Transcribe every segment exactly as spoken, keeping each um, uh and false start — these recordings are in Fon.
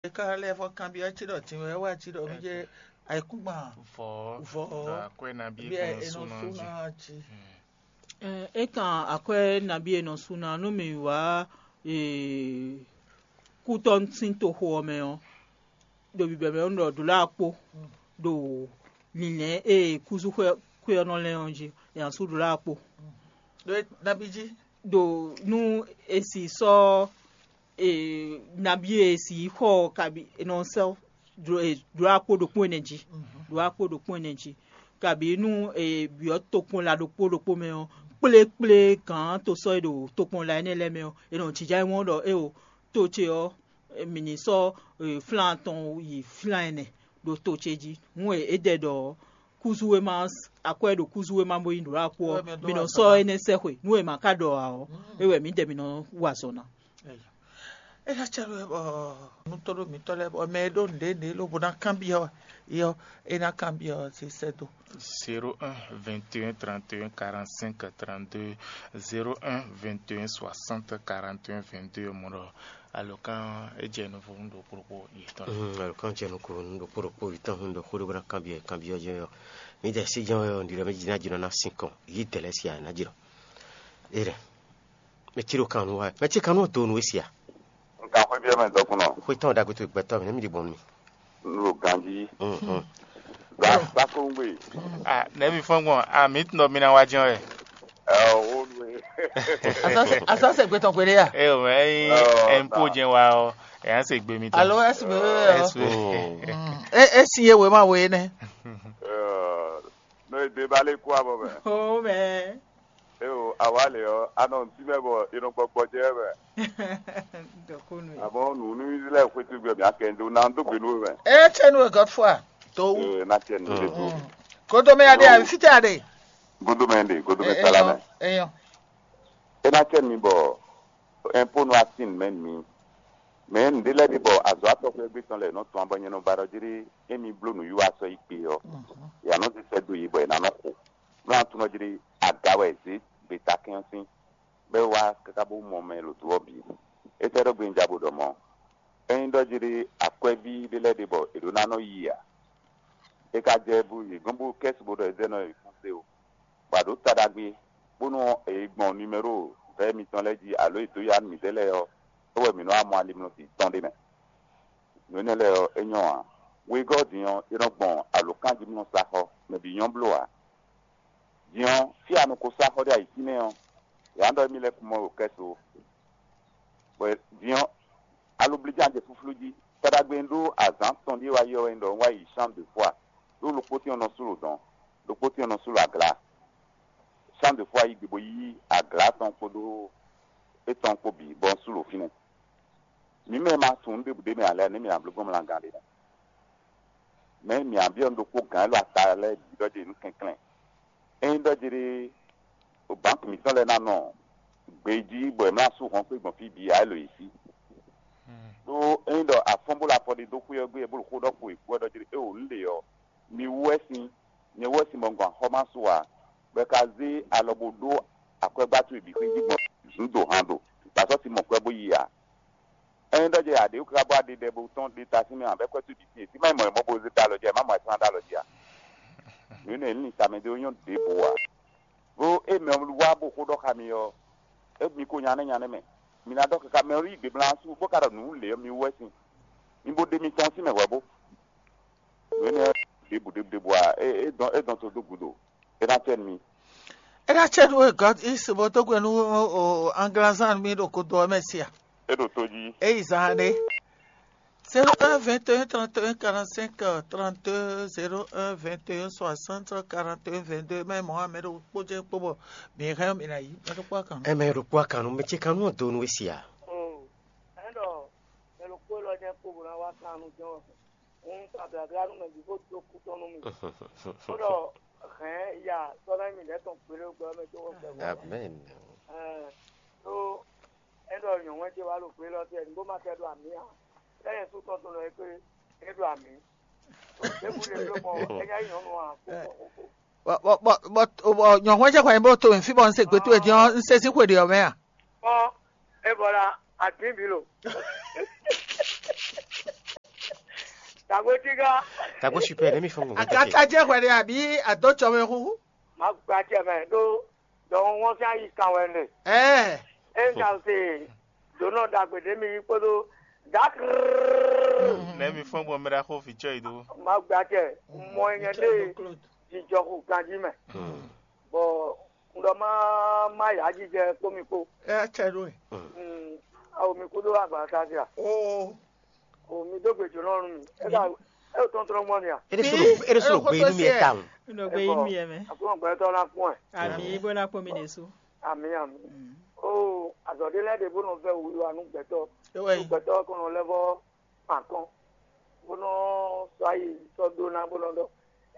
E ka lɛ́ vɔ kanbyɔ́ cí ɖɔ din wɛ wá cí ɖɔ mí jɛ ayǐkúngban vɔ vɔ ɖo akwɛ́ nabí bí e è nɔ sú ná jí. Ɛ, é kan akwɛ́ nabí e nɔ sú ná nú mì wá, ee, kútɔ́ sín toxo ɔ́ mɛ ɔ́, ɖo bǐbɛ́ mɛ ɔ́, un ɖɔ ɖǒ lɛ́ɛ akpó ɖo lǐnlɛ́n e kúzúxwé xwé ɔ́ nɔ lɛ́n ɔ́ jí, è nǎ sú ɖǒ lɛ́ɛ akpó. Ɖó nabí jí? Ɖo nú è si sɔ́, e, nabí e è si xɔ ɔ́ kabi è nɔ sɛ́ ɖó akpó ɖokpó ɛnɛ jí, ɖó akpó ɖokpó ɛnɛ jí, kabi nú è byɔ́ tokpɔnla ɖokpó ɖokpó mɛ ɔ́, kplékplé gǎn to sɔ́ e ɖo tokpɔnla énɛ́ lɛ́ɛ mɛ ɔ́, è nɔ jínjɔ́n ayǐ mɔ ɖɔ éeǒ, to ce ɔ́, mǐ ní sɔ́, e, flán atɔn yi flán ɛnɛ ɖo to ce jí. Hǔn e é ɖɛ ɖɔ kúzú e ma akwɛ́ ɖo kúzú e ma bó nyí ɖǒ akpó ɔ́, mǐ nɔ sɔ́ énɛ́ sɛ́xwe. Nú e ma ka ɖɔ ǎ ɔ́, é wɛ mǐdɛɛ mǐ nɔ wa azɔ̌ ná. É ná cɛ ɖó bɔ nutɔ́ ɖo mǐtɔn lɛ́ɛ bɔ mɛ e ɖó nǔɖé nǔɖé lobo ná kanbyɔ́ yɔ é ná kanbyɔ́ ɔ́, sí sɛ́ dó. Zéro un, vingt et un, trente et un, quarante-cinq, trente-deux, zéro un, vingt et un, soixante, quarante et un, vingt-deux, mɔ ɖɔ alɔkán é jɛ nuvɔ nú ɖokpó ɖokpó yětɔn. Mm, alɔkán jɛ nukún nú ɖokpó ɖokpó yětɔn, nú ɖokpó ɖokpó ná kanbyɔ́ kanbyɔ́ jɛ ɔ́, mǐdɛɛ sí jɛ́n wɛ ɔ́, ɖiɖɔ mɛ jí ná jínɔ ná sín kɔn yí dɛ̌ lɛ́ɛ sí ǎ, é ná jínɔ. Éɖɛ́. Mɛ cí ɖo kan nú wa, mɛ cí kan nú do nú we sia. Nka xwé biɛ mɛ dɔkunnɔ. Xwé tɔn ɖagbe to gbɛtɔ́ mɛ, nɛ́ mi ɖi gbɔn nú mi. Nɖo ganji. Mhm. Gba gba kongbe. Ah, nɛ́ mi fɔ́n gbɔn? Ah, mi tun ɖɔ mi ná wá jɛ́n wɛ. Ɛ o nu e. Asase asase gbetɔn gbede ya. Ɛ o mɛ yin Oh, ɛnpo ta. Jɛn wa ɔ, ɛ yàn se gbe mi tɔn. Alo S B E ɔ. S B E. Mm. E e si ye wema we nɛ. Ɛ, no e de ba le kú abɔ mɛ. O mɛ. E o awa le ɔ, anɔ ntí mɛ bɔ e nɔ gbɔgbɔ jɛ mɛ. Dɔkunu ye. Àmọ́ nù ní Israẹl xwétú gbé mi akɛ ndo na dó gbé nú mɛ. E tse nu e Godfrey. To wu. Ee, na tiɛ nu de to. Kodo mɛ ya de a, fitɛ ya de. Godo mɛ de, godo mɛ sala mɛ. Eyɔn. E na tiɛ mi bɔ ɛnpo nu asin mɛ mi. Mɛ nǔɖé lɛ́ɛ ɖe bɔ azɔ̌ atɔxwɛ́gbé tɔn lɛ́ɛ nɔ tɔn abɔ nyɛ nɔ ba ɖɔ jlé émi bló nǔwiwa sɔ́ yi kpe ɔ́, yě nɔ zé sɛ́ dó yě bɔ yě ná nɔ xo. Nú a tunɔ jlé aga wɛ è zě gbetakɛ́n ɔ́ sín, bɔ é wá káká bó mɔ mɛ e ɖo do ɔ́ bǐ. É sɛ́ ɖó gbe un ja bo ɖɔ mɔ̌. Ényí ɖɔ jlé akwɛ́ví ɖé lɛ́ɛ ɖe bɔ è ɖǒ ná nɔ yi ǎ. É ka jɛ bú yě gɔ́n bú kɛ́si bó ɖɔ é zɛ nɔ yi fún se o. Bɔ a ɖǒ ta ɖagbe, bónú è yi gbɔn nimɛ́ro vɛ̌ mitɔn lɛ́ɛ jí alo è dǒ ya nú mǐdɛɛ lɛ́ɛ ɔ́, é wɛ mǐ nɔ́ wá mɔ alimlɔsi tɔn ɖé mɛ. Nǔ énɛ́ lɛ́ɛ ɔ́, é nyɔ́ ǎ. Wegɔ́ din ɔ́, é nɔ gbɔn alǒkanjímlɔ́saxɔ, mɛ bǐ nyɔ́ bló ǎ. Din ɔ́, fí e a nɔ ko sá xɔ ɖé ayǐ fínɛ́ ɔ́, yě ná ɖɔ émí lɛ́ɛ kún mɔ ɖo kɛ́su ó. Bɔ din ɔ́, aloblíján jɛ flúflú jí. Taɖagbe un ɖó azǎn tɔn ɖíe wá yi ɔ́ wɛ un ɖɔ un wá yi Champ de Foire, ɖó ɖokpó tɛ́n ɔ́ nɔ sú lǒ dɔn, ɖokpó tɛ́n ɔ́ nɔ sú lǒ aglá. Champ de Foire yi gbe bó yí aglá tɔn kpódó étɔn kpó bǐ, bɔ un sú lǒ fínɛ́. Mǐ mɛ e ma tunwun nǔ ɖěbǔ ɖ'é mɛ ǎ lɛ́ɛ, nɛ̌ mǐ ná bló gbɔn mlagán ɖe nɛ́? Mɛ̌ mǐ ná byɔ́ nǔ ɖokpó gǎn élɔ́ ata lɛ́ɛ bǐ ɖɔ jɛ nǔ kɛnklɛ́n? Ényí ɖɔ jlé bánki mǐtɔn lɛ́ɛ ná nɔ gbejí bɔ è mlá sú hɔn xwé gbɔn fí bǐ ǎ, é lǒ yě sí. Ɖó ényí ɖɔ afɔ́n bó lɔ afɔ ɖé dó xwé ɔ́ gbé, bó ɖo xó ɖɔ kpo è kú ɔ́ ɖɔ jlé, é wǒ nǔ ɖe ɔ́, mi wú wɛ sín, nyɛ wú wɛ sín bɔ un gɔn axɔ́ má su ǎ, bɔ è ka zé alɔ bó ɖó akwɛ́gbá towe bǐ xwé jí gbɔn nǔ do han do, bɔ a sɔ́ si mɔ kwɛ́ bó yi ǎ. Ényí ɖɔ jɛ aɖě wú káká bɔ a ɖe ɖɛ bo tɔ́n ɖe ta sín mɛ ǎ, bɔ é kwɛ́ towe bǐ sín, é má mɔ è mɔ bo zé dó alɔ jí ǎ, é má mɔ ayǐkúngban dó alɔ jí ǎ. Nǔ énɛ́ ní tamɛ ɖé nyɔ́ ɖěbǔ ǎ. Bó é mɛ wá bó xó ɖɔ xá mi ɔ́, é mi ko nya nɛ́ nya nɛ́ mɛ. Mi ná ɖɔ káká mɛ ɔ́ yí gbe blán sú, bó ka ɖɔ nǔ lě ɔ́ mi wú wɛ sín. Mi bo ɖe mitɔn sín mɛ hwɛ̌ bó. Nǔ énɛ́ ɖěbǔ ɖěbǔ ɖěbǔ ǎ, é é dɔn é dɔn to dó gǔdo. É ná cɛ nú mi. É ná cɛ nú we gɔ́ ísi bó dó gbe nú o anglazán mi ɖo kodo ɔ́ mɛ sia. É ɖo tó jí. É yi zan ɖé. Zéro un vingt et un trente et un quarante-cinq trente-deux, zéro un vingt et un soixante quarante et un vingt-deux. Mɛ mɔ̌ ame ɖo kpó jɛ kpó bɔ mi hɛn mi ná yi mɛ ɖokpó akan. Ɛ mɛ ɖokpó akan nú mɛ ce kan nú do nú we sia. Ɛn ɖɔ mɛ ɖokpó lɔ jɛ kpó bó ná wá kan nú jɛn wɛ. Un ta blabla nú mɛ bǐ bó dó kú tɔn nú mi. Bó ɖɔ hɛn ya sɔ́ ná mi lɛ́ tɔn gbélé gbɛ mɛ tó wɔ gbɛ. Amen. Ɛn tó ɛn ɖɔ nyɔ̌nu ce wá ɖo gbé lɔ tɛ ní bó ma tɛ ɖo amǐ ǎ. Lɛ́ yɛ sú tɔn tó nɔ é kpé é ɖo amǐ. Ɖěbǔ ɖe bló kpɔn é nya nyí nyɔ̌nu ǎ. Bɔ bɔ bɔ bɔ nyɔ̌nu ce kɔn nyi bó to mì fí bɔ un se gbě towe dín ɔ́, un se sín xwe ɖě ɔ́ mɛ a? Kpɔn é bɔ la adǐn bǐ lo. Agbotígá. Tagbo super, ne mi fɔn gbɔn. Akata jɛ hwɛ ɖe àbí àdó tsɔmɛ hu? Má gba acɛ mɛ ɖó dɔwɔn wọ́n sín ayi kan wɛ nɛ. Ɛɛ. É ń ka se dǒnɔ ɖagbe ɖé mi yí kpódó dákrrrr. Ne mi fɔn gbɔn mɛ ɖaxó vǐ cɔ yi dó. Má gba acɛ mɔ nyɛ ɖé jijɔ xo ganjí mɛ. Bɔ un ɖɔ má má yǎ jijɛ kpó mi kpó. Ɛ cɛ ɖó e. Awo mi kúdó agba káfíà. Oo. O mi dó gbe jǒnɔ nú mi. É ka é tɔntɔn gbɔn ni a? Ere sɔrɔ ere sɔrɔ gbe inú mi ɛ ta o. Nɔ gbé yín mi ɛ mɛ. Àkúrò gbɛtɔ ná kún ɛ. Àmì bó ná kún mi nìṣó. Àmì àmì. O azɔ ɖé lɛ ɖe bó nɔ vɛ wíwá nú gbɛtɔ. Ewé. Nú gbɛtɔ kɔnɔ lɛ vɔ pàkɔn. Bó nɔ sɔ ayi sɔ dó ná bó nɔ dɔ.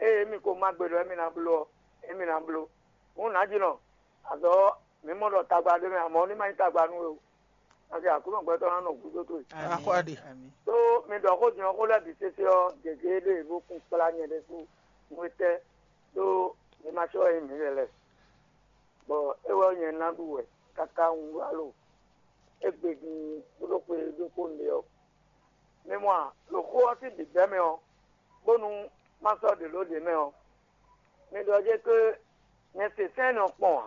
Eye mi ko má gbe ɖɔ émi ná bló ɔ, émi ná bló. Hǔn nǎjínɔ, azɔ mǐ mɔ ɖɔ tagba ɖé mɛ, amɔ̌ ní ma nyí tagba nú we o. Nǎjɛ Aklúnɔ gbɛtɔ́ ná nɔ gúdo towe. Axɔ ɖe. Tó mi ɖɔ xó din ɔ́, xó lɛ́ɛ bǐ sésé ɔ́, gěgé ɖé bó kún kplá nyɛ ɖésú nú étɛ́ ɖó mi ma sɔ́ wɛ nyí mǐ lɛ́ lɛ́ɛ. Bɔ é wɛ nyɛ ná ɖu wɛ káká un wá lo égbé din bó ɖó xwe ɖokpó un ɖe ɔ́. Mi mɔ a, ɖo xó ɔ́ sín bǐbɛ́ mɛ ɔ́, bónú má sɔ́ ɖě ló ɖě mɛ ɔ́, mi ɖɔ jɛ́n ké nyɛ se sɛ́n nɔ kpɔn ǎ.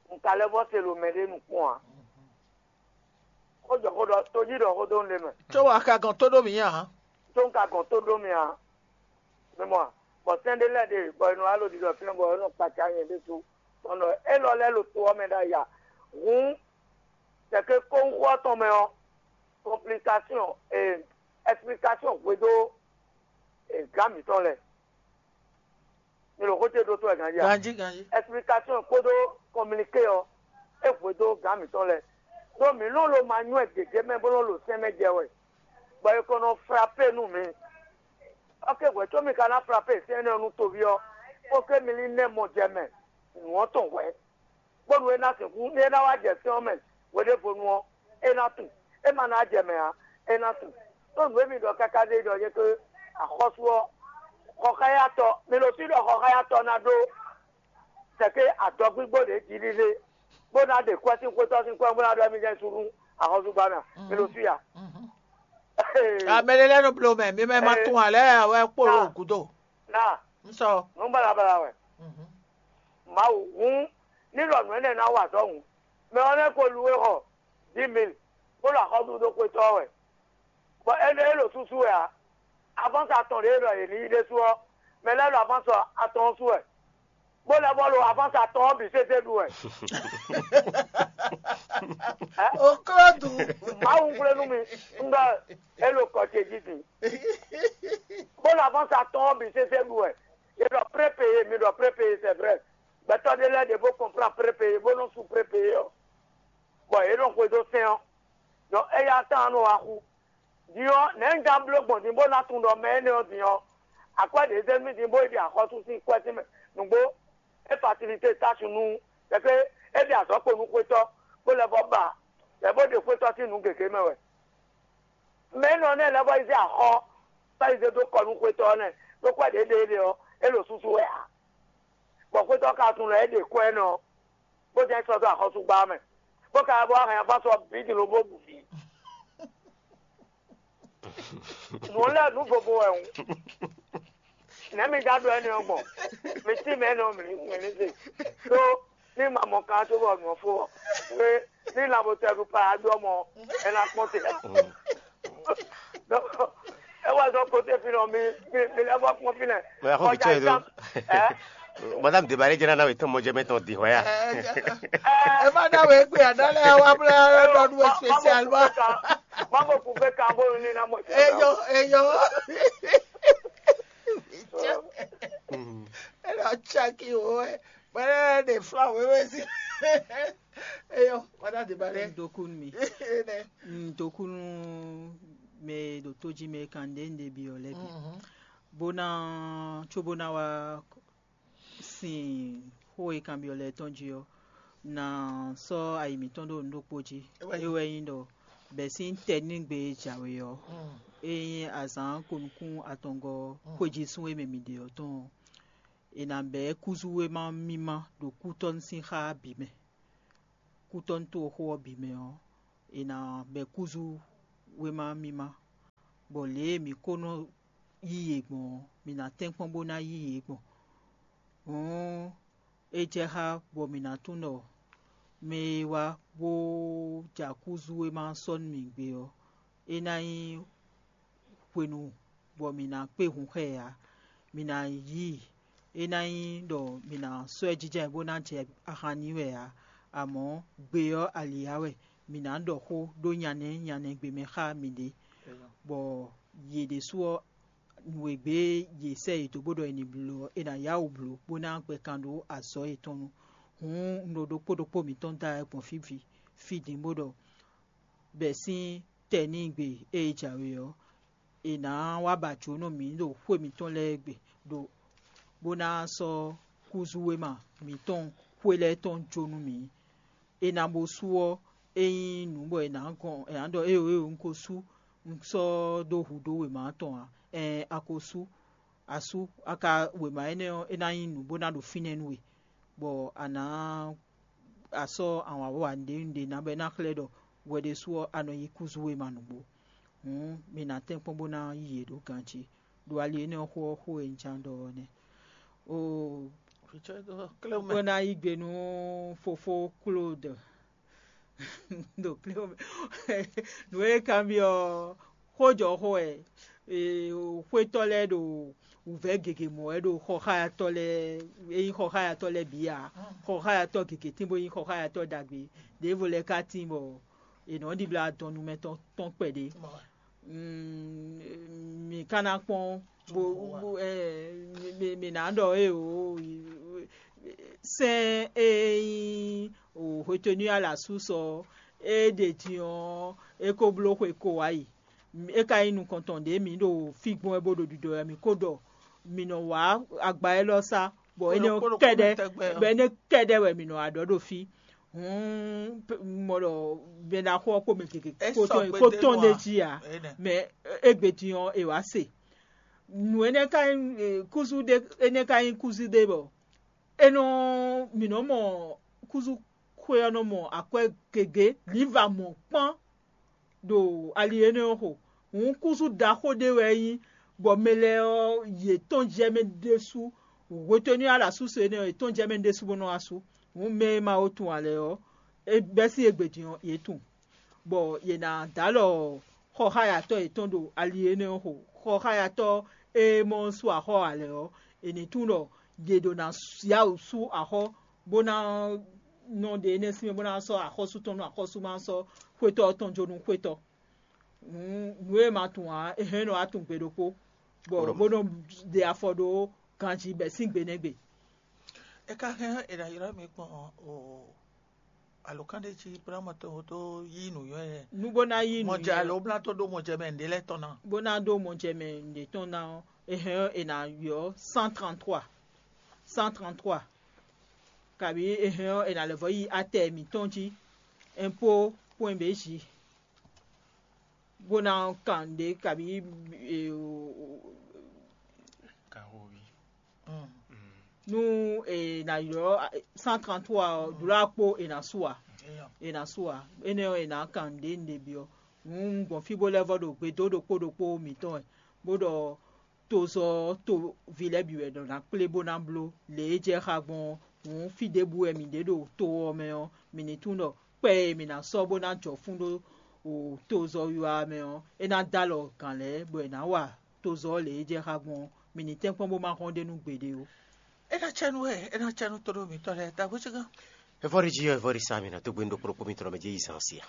Un ka lɛ́ vɔ́ se ɖo mɛɖé nukpɔn ǎ. Xó jɔ xó ɖɔ tójí ɖɔ xó dó un ɖe mɛ. Có wá ka gɔn tó ɖó mǐ ǎ. Có un ka gɔn tó ɖó mì ǎ. Mi mɔ a, bɔ sɛ́n ɖé lɛ́ɛ ɖe bɔ è nɔ wá ɖo ɖiɖɔ fínɛ́ bɔ é nɔ kpaca nyɛ ɖésú. Bɔ nɔ élɔ́ lɛ́ɛ ɖo to ɔ́ mɛ ɖ'ayǐ ǎ. Hǔn sɛkɛ kóhúnxó ɔ́ tɔn mɛ ɔ́, complication, eh, explication hwedó eh, gǎn mǐtɔn lɛ́ɛ. Mi ɖo xó ce ɖó tó wɛ ganjí a? Ganjí, ganjí. Explication kpódó communiqué ɔ́, é hwedó gǎn mǐtɔn lɛ́ɛ. Ɖó mǐ nɔ lo ma nywɛ́ gěgé mɛ bó nɔ lo sɛn mɛ jɛ wɛ, bɔ è ko nɔ frappé nú mǐ. Ok, hwɛ̌ có mi ka ná frappé sɛn énɛ́ ɔ́ nú toví ɔ́, bó ké mi ní nɛ́ mɔ jɛ mɛ nǔ ɔ́ tɔn hwɛ̌. Bónú é ná sixú, ní é ná wá jɛ sɛ́n ɔ́ mɛ hweɖěvonu ɔ́, é ná tunwun; é ma ná jɛ mɛ ǎ, é ná tunwun. Ɖó nǔ e mi ɖɔ káká ɖe ɖɔ nyɛ ké axɔ́sú ɔ́, xɔxáyatɔ́, mi ɖo fí ɖɔ xɔxáyatɔ́ ná ɖó sɛ̌ké adɔgbígbó ɖě jí lílé, bó ná ɖe kwɛ́ sín xwétɔ́ sín kwɛ́ bó ná ɖɔ émí jɛ́n sú nú axɔ́súgbámɛ a? Mi ɖo fí a? Amɛ ɖé lɛ́ɛ nɔ bló mɛ, mi mɛ ma tunwun ǎ lɛ́ɛ wɛ kpo ɖo gǔdo. Ná Un sɔ. Nǔ balabala wɛ. Mawu hǔn, ní ɖɔ nǔ énɛ́ ná wa azɔ̌ hǔn, mɛ ɔ́ nɛ́ ko lu e xɔ dix mille, bó ɖo axɔ́sú dó xwetɔ́ ɔ́ wɛ, bɔ énɛ́ é ɖo súsú wɛ ǎ. Avánsa atɔn ɖě e ɖɔ yě ní yí ɖésú ɔ́, mɛ lɛ́ɛ ɖo avánsa atɔn ɔ́ sú wɛ, bó lɛ́ vɔ́ ɖo avánsa atɔn ɔ́ bǐ sésé ɖu wɛ. Oklódu. Mawu xwlé nú mi, un ɖɔ é ɖo kɔ ce jí din. Bó ɖo avánsa atɔn ɔ́ bǐ sésé ɖu wɛ. Yě ɖɔ prépeyé, mi ɖɔ prépeyé, c'est vrai. Gbɛtɔ́ ɖé lɛ́ɛ ɖě bó kɔnplán prépeyé, bó nɔ́ sú prépeyé ɔ́, bɔ yě nɔ xwedó sɛ́n ɔ́. Ɖɔ éyá tán nɔ wá xú. Din ɔ́, nɛ̌ un ka bló gbɔn din bó ná tunwun ɖɔ mɛ énɛ́ ɔ́ din ɔ́, akwɛ́ ɖě zé nú mì din bó yi ɖi axɔ́sú sín kwɛ́ tɛ́nmɛ nǔgbó? É fasilité tásu nú, bɔ é ɖe azɔ̌ kpo nú xwétɔ́, bó lɛ́ vɔ́ ba, bɔ é bó ɖe xwétɔ́ sín nǔ gěgé mɛ wɛ. Mɛ énɛ́ ɔ́ nɛ́ lɛ́ vɔ́ yi zé axɔ́, bó yi zé dó kɔ nú xwétɔ́ ɔ́ nɛ́, ɖó kwɛ́ ɖě ɖe é ɖe ɔ́, é ɖo súsú wɛ ǎ. Bɔ xwétɔ́ ka tunwun ɖɔ é ɖe kwɛ́ énɛ́ ɔ́, bó jɛ́n sɔ́ dó axɔ́súgbá ɔ́ mɛ, bó ka wá bó wá hɛn afá sɔ bǐ din lobo bǔ fí. Nǔ lɛ́ɛ nǔ vovo wɛ hǔn. Nɛ̌ mi ka ɖó énɛ́ ɔ́ gbɔn? Mi cí mɛ énɛ́ ɔ́ mǐ ní se. Ɖó ní ma mɔ kan cóbɔ nǔ ɔ́ fó ɔ́, é ní lanbotɛ́ ɖu pa adó ɔ́ mɔ, é ná kpɔ́n te. É wá zɔ́ kóté fínɛ́ ɔ́, mi mi mi lɛ́ vɔ́ kpɔ́n fínɛ́. Mɛ axɔ́ vǐ cɔ yi dó. Madame Debalé jẹ́ nana wetɔn mɔjɛmɛ tɔn di hɔya. Ẹ má dá wèé gbé àdá lɛ wá blá lɔ nú spécial ma. Má bò kú fẹ́ kan bó ní ná mọ̀. Eyɔ eyɔ. Ẹ lọ tsaki o ẹ. Bẹ́ẹ̀ de fla wéwé sí. Eyɔ, madame Debalé. Dokun mi. Dokun mɛ ɖo tó jí mɛ kan ɖe ɖe bi ɔ lɛ bi. Bó ná tso bó ná wá sin xó e kanbyɔ́ lɛ́ɛ tɔn jí ɔ́, ná sɔ́ ayi mǐtɔn ɖó nǔ ɖokpó jí. É wɛ nyí ɖɔ bɛ̌ sín tɛnígbe e jǎwe ɔ́, é nyí azǎn ko nukún atɔngɔ́ xwéjísún e mɛ mǐ ɖe ɔ́ tɔn ɔ́, è nǎ bɛ̌ kúzú wéma mímá ɖo kútɔ́ sín xá bǐ mɛ. Kútɔ́ toxo ɔ́ bǐ mɛ ɔ́, è nǎ bɛ̌ kúzú wéma mímá. bɔ lě e mǐ ko nɔ yí yě gbɔn ɔ́, mǐ ná tɛ́nkpɔ́n bó ná yí yě gbɔn. Hǔn é jɛ xá bɔ mǐ ná tunwun ɖɔ mɛ e wá bó jɛ akúzu e ma sɔ́ nú mǐ gbé ɔ́, é ná nyí hwenu bɔ mǐ ná kpé hun xá ɛ ǎ. Mǐ ná yí i. É ná nyí ɖɔ mǐ ná sɔ́ ɛ jínjɔ́n ayǐ bó ná jɛ ahan n'i wɛ ǎ, amɔ̌ gbe ɔ́ ali ǎ wɛ. Mǐ ná ɖɔ xó ɖó nyanɛ nyanɛ gbe mɛ xá mǐɖée, bɔ yě ɖésú ɔ́, nǔ e gbé yě sɛ́ yě dó bó ɖɔ è nǐ bló ɔ́, è nǎ yá wǔ bló bó ná gbɛ kan ɖó azɔ̌ yětɔn nu. Hǔn un ɖo ɖokpó ɖokpó mǐtɔn da wɛ gbɔn fí fí din bó ɖɔ bɛ̌ sín tɛnígbe e jǎwe ɔ́, è nǎ wá ba jǒnɔ mǐ ɖo xwé mǐtɔn lɛ́ɛ gbe, ɖo bó ná sɔ́ kúzúwéma mǐtɔn xwé lɛ́ɛ tɔn jó nú mǐ. È nǎ bó sú ɔ́, é nyí nǔ bɔ è nǎ gɔn è nǎ ɖɔ éeǒ éeǒ un ko sú, un sɔ́ dó hudó wěma tɔn ǎ. Ɛɛn a ko sú, a sú a ka wěma énɛ́ ɔ́, é ná nyí nǔ bó ná ɖo fínɛ́ nú we, bɔ a nǎ a sɔ́ ahwanvɔ́wa ɖěbǔ ɖě ná bɔ é ná xlɛ́ ɖɔ hwɛ ɖésú ɔ́ a nɔ yí kúzú wéma nǔgbó. Hǔn mi ná tɛ́nkpɔ́n bó ná yi yě ɖó ganjí, ɖo ali énɛ́ ɔ́ xó ɔ́ xó e un ján ɖɔ ɔ́ nɛ́. Oo, bó ná yí gbe nú fofó Klódɔ ɖo Klódɔ nǔ e kanbyɔ́ ɔ́, xójɔxó wɛ. Xwétɔ́ lɛ́ɛ ɖo wǔvɛ́ gěgé mɔ wɛ ɖo xɔxáyatɔ́ lɛ́ɛ, é nyí xɔxáyatɔ́ lɛ́ɛ bǐ ǎ. Xɔxáyatɔ́ gěgé tín bó nyí xɔxáyatɔ́ ɖagbe. Ɖěvo lɛ́ɛ ka tín bɔ è nɔ́ ɖibla dɔnnu mɛ tɔn tɔn kpɛɖé. Mǐ ka ná kpɔ́n bó bó ɛ mǐ ná ɖɔ é o sɛ́n e nyí hwetɛ́nu ala sú sɔ é ɖe din ɔ́, é ko bló xwe ko wá yi. É ka nyí nukɔntɔn ɖě mǐ ɖo fí gbɔn wɛ bó ɖo ɖiɖɔ wɛ mǐ ko ɖɔ mǐ nɔ wá agba élɔ́ sá, bɔ énɛ́ kɛ́ɖɛ́ bɔ énɛ́ kɛ́ɖɛ́ wɛ mǐ nɔ wá ɖɔ ɖo fí. Hǔn mɔ ɖɔ mɛɖaxó ɔ́ kpó mɛ gěgé kó tɔn ɖ'é jí ǎ, mɛ égbé din ɔ́ è wǎ se. Nǔ énɛ́ ka nyí kúzú ɖé énɛ́ ka nyí kúzú ɖé bɔ é nɔ mǐ nɔ mɔ kúzú xwé ɔ́ nɔ mɔ akwɛ́ gěgé, lǐnva mɔ̌kpán ɖo ali énɛ́ ɔ́ xo. Hǔn kúzú ɖaxó ɖé wɛ é nyí, bɔ mɛ lɛ́ɛ ɔ́, yě tɔ́n jɛ mɛ ɖésú. Hwetɛ́nu e a ɖo asúse énɛ́ ɔ́, yě tɔ́n jɛ mɛ ɖésú bó nɔ́ wá sú. Hǔn mɛ e ma ko tunwun ǎ lɛ́ɛ ɔ́, é bɛ́ sín égbé din ɔ́, yě tunwun, bɔ yě ná dó alɔ xɔxáyatɔ́ yětɔn ɖo ali énɛ́ ɔ́ xo. Xɔxáyatɔ́ e mɔ sú axɔ́ ǎ lɛ́ɛ ɔ́, è nǐ tunwun ɖɔ yě ɖo ná yá wǔ sú axɔ́, bó ná nɔ ɖe énɛ́ sín mɛ, bó ná sɔ́ axɔ́sú tɔn nú axɔ́sú, má sɔ́ xwétɔ́ ɔ́ tɔn jó nú xwétɔ́. Nǔ e ma tunwun ǎ, é hɛn nɔ wá tunwun gbe ɖokpó, bɔ bó nɔ ɖe afɔ ɖó ganjí bɛ̌ sín gbe nɛ́ gbe. É ka hɛn è nǎ ylɔ́ mi gbɔn o alǒkan ɖé jí bó ná mɔ tó tó yí nǔnywɛ́. Nú bó ná yí nǔnywɛ́ alo bó ná tó ɖó mɔjɛmɛ nǔɖé lɛ́ɛ tɔn ná. Bó ná ɖó mɔjɛmɛ nǔɖé tɔn ná ɔ́, é hɛn è nǎ ylɔ́ cent trente-trois. Cent trente-trois. Kabǐ è hɛn ɔ́, è nǎ lɛ́ vɔ́ yi atɛ mǐtɔn jí, impôt point B J, bó ná kan nǔɖé kabǐ e, o- o- Kahovi. Mm. Mm. Nú è nǎ ylɔ́ cent trente-trois ɔ́, ɖǒ akpó è nǎ su ǎ. Eyɔ. È nǎ su ǎ. Énɛ́ ɔ́, è nǎ kan nǔɖé nǔɖé byɔ́. Hǔn un gbɔn fí bó lɛ́ vɔ́ ɖo gbe dó ɖokpó ɖokpó mǐtɔn wɛ, bó ɖɔ tozɔ́ ɔ́, toví lɛ́ɛ bǐ wɛ ɖɔ ná kplé bó ná bló lě e jɛ xá gbɔn ɔ́. Hǔn fí ɖěbǔ wɛ mǐ ɖe ɖo to ɔ́ mɛ ɔ́, mǐ ní tunwun ɖɔ kpɛ́ e mǐ ná sɔ́ bó ná jɔ fún ɖó tozɔ́ wiwa ɔ́ mɛ ɔ́, é ná dó alɔ gǎn lɛ́ɛ, bɔ è nǎ wa tozɔ́ ɔ́ lě e jɛ xá gbɔn ɔ́, mǐ ní tɛ́nkpɔ́n bó má hɔn ɖ'é nú gbeɖé ó. É ná cɛ nú wɛ, é ná cɛ nú tóɖó mǐtɔn lɛ́ɛ, ta hwécígán. É vɔ́ ɖi jí ɔ́, é vɔ́ ɖi sá mǐ ná dó gbé nú ɖokpó ɖokpó mitɔn mɛ jɛ yi zán ɔ́ sí a?